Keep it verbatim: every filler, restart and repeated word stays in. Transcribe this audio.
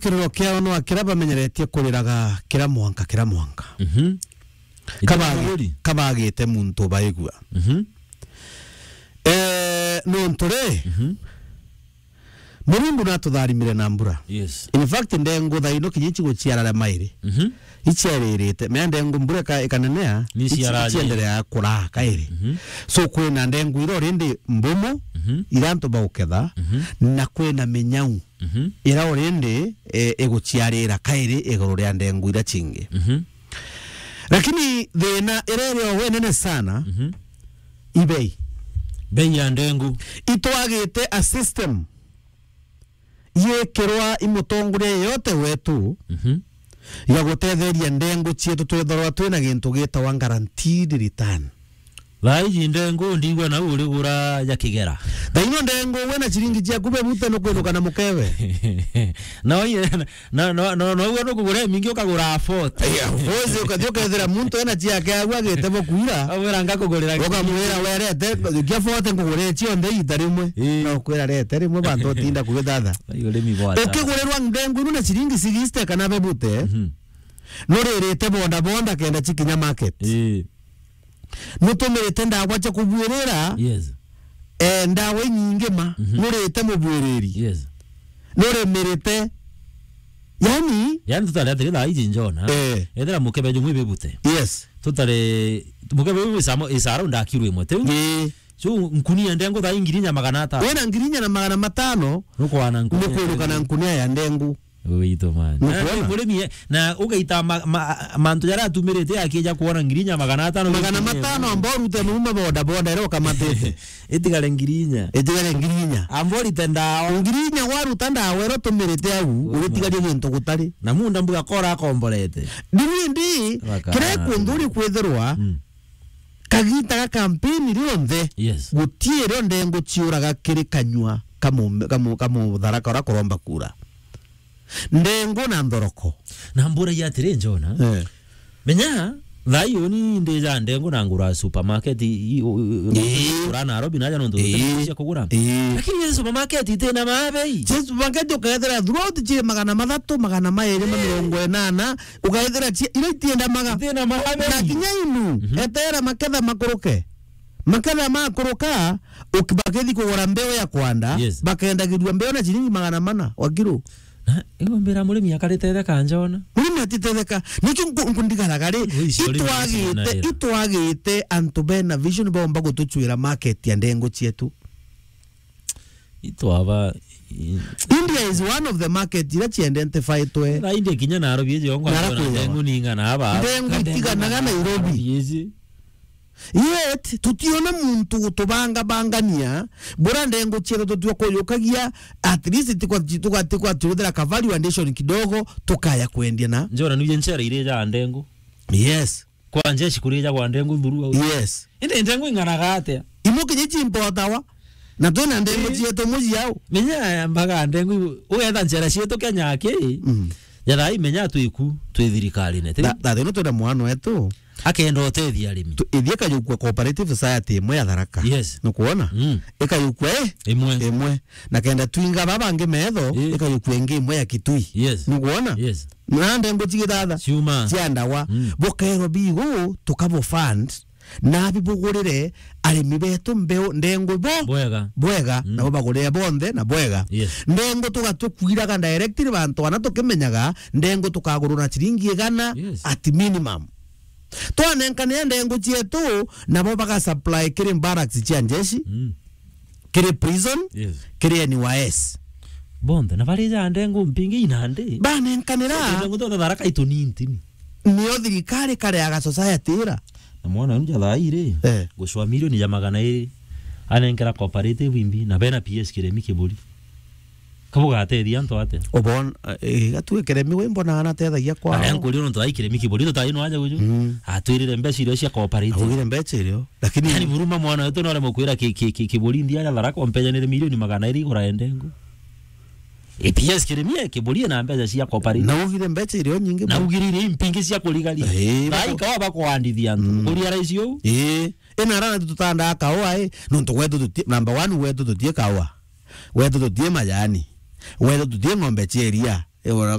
kiriro kiao no akira bamenyeretie kuriraga kira mwanka, kira mwanka. Mhm. Kabagi-, kabagite muntu baigua. Mhm. Eh, nontu ri, mhm, Murungu natutharimire na mbura. Yes. In fact, ndengu thaino kinya ici guciara ria mairi. Mhm. Iciaririte. Mea ndengu mbura ika-, ikanenea, ici-, iciaraga icienderea kuraa kairi. Mhm. So, kwina ndengu ira already mbumu, mhm, ira antu bauketha, mhm, na kwina minyau, mhm, ira already, eh, iguciarira kairi iguru ria ndengu ira cingi. Mhm. Lakini thina ira iri o we nene sana, mhm, i bei. Bei ya ndengu. Itwagite a system yekirwa i mutongoria yeyote wetu, mhm, ya gutetheria ndengu cietu twethirwa twina gintu gitawa guaranteed return. Thaa iji ndengu ndigua nau urigura ja kigera. Thaino ndengu wina ciringi ciaku bebute nukwinuka na mukebe. No, ye-, no, no, no, no, ugwe nukugura imingi ukagura a forty. Yeah, of course, ukathi ukethira muntu ena ciake agu agite bo kuira. Amwira ngakugurira. Ukamwira, "Werete, kia forty nkugure cionthe iita rimwe." Ii. No kwira rete rimwe bantu utinda kugithatha. Ai, urimi bwata. Ukigurirwa ndengu inu na ciringi sixty kana bebute, mhm, nuririte boda boda kenda cikinya market. Ii. Nutumirite ndawa cia kubwirira. Yes. Eh, ndawa inyingi ma. Mhm. Nurite mubwiriri. Yes. Nurimirite. Yani? Yani tutari atiri thaa iji njona. Eh. Ethira mukebe jumwe bibute. Yes. Tutari, mukebe jumwe isamo, isaro ndakirwe imwe, tiu? Ii. So, nkunia ndengu thaa ingirinya magana atano. Wina ngirinya na magana matano. Nukwana nkunia. Nukwiruka na nkunia ya ndengu. Witå, man. Nukwona? Na murimi, eh, na ugaita ma-, ma-, mantu jaria atumirite akija kuona ngirinya magana atano. Magana matano amba urute nuuma boda boda, ira ukamatite. Itigare ngirinya. Itigare ngirinya. Amba urite ndawa. Ngirinya waruta ndawa ira utumirite au, ugitigarie gintu gutari. Na munda mbuga kora akomborete. Ndini ndi, kira kunthuri kwithirwa, mm, kagita ga kampeni rionthe, yes, gutirio ndengu ciuraga kiri kanyua kamu-, kamu-, kamutharaka ura kuromba kura. Ndengu na nthoroko. Na mburagia atiri, Njona, eh, menya, thaa ii uni ndija ndengu na ngura supermarket i, i, u-, u-, ii, ngura Nairobi naja nontu, ii, cia kugura. Ii. Lakini ii supermarket itina mabei. Cia supermarket ukethira throughout ciri magana mathatu, magana mairi ma mirongo inana, ukethira cia, ira itienda maga. Itina mabei. Na kinya inu, mhm, etera maketha makuruke. Maketha makuruka, uki-, bakithi kugura mbeu ya kwanda, yes, bakendagirua mbeu na ciringi magana mana wa kiro. Na, igo mbira murimi akarite theka, Njona. Murimi atitetheka. Nikio nku-, nkundigaraga ri, itwagite, itwagite antu bena vision baumba gutucwira market ya ndengu cietu. Itwaba, i- India is one of the market ira ciendentefitwe. Na India kinya Nairobi iji yongwa. Nara kwigwa. Ndengu ninga na aba. Ndengu itiganaga Nairobi. Nairobi iji. Yet, tutiona muntu gutubangabangania, bura ndengu cietu tutua kuyukagia, at least tikwa, tikwa, tikwa tuthira ka value addition kidogo, tukaya kwendia na. Njona nuje ncera iri ja ndengu. Yes. Kwa njeshi kurija kwa ndengu thuru au. Yes. Indi ndengu ing'anaga atia? Imu kinya cimpotawa. Na twina ndengu, ii, cietu muji au. Menya mbaga ndengu, ugetha ncera cietu Kenya aki. Mm. Jatha imenya twiku, twi thirikarine. Tha-, tha thino twina mwana wetu. Akenda utethia arimi. Tu-, ithie ikayukua cooperative society imwe ya Tharaka. Yes. Nukwona? Mm. Ikayukua, eh? Imwe. Imwe. Na kenda twinga baba bangi metho, ii, ikayukua ingi imwe ya Kitui. Yes. Nukwona? Yes. Na ndengu cigithatha. Ciuma. Cia ndawa. Mm. Bukairwa bigu, tukabo fund. Nabi bugurire arimi betu mbeu ndengu bo-, bwega. Bwega, mm, nabo bagurire bonthe na bwega. Yes. Ndengu tugatukwiraga directly bantu ana tukimenyaga, ndengu tukagurwa na ciringi igana, yes, at minimum. Twanenkanira ndengu cietu, nabo bagasupply kiri barracks cia njeshi, mm, kiri prison, yes, kiri N Y S. Bonthe, na bari ja ndengu mpingi inandi. Banenkanira. Ndengu twa Tharaka itu ni ntini. Nio thirikari kareaga society ira. Na mwana uyu ja thaa iri, eh, gucwa milioni ja magana iri, anenkera cooperative imbi, na bena P S kiremi kiburi. Kabugatethia antu atia? Ubon, eh, gatue kiremi we mbona anatethagia kwao. Aya nkurio nontu ai kiremi kiburi, tutai no aja guju. Mm. Atwirire mbeca irio cia cooperative. Augire mbeca irio, lakini yani buruma mwana wetu no aremwe kwira ki-, ki-, ki-, kiburi ndia ya Tharaka ompejanire milioni magana iri igura ya ndengu. E P S kiremi e kiburi na mbeca cia cooperative. Na ugire mbeca irio nyingi. Na ugirire impingi cia kurigaria. Eh, thaa bako- ikawa bakwandithia antu. Mm. Kuria raisi uu. Eh, ina rana tutandaa kaua, eh. Nontu gwetu tuti-, number one gwetu tutie kaua. Gwetu tutie majani. Gwetu tutie ng'ombe cia iria. Ora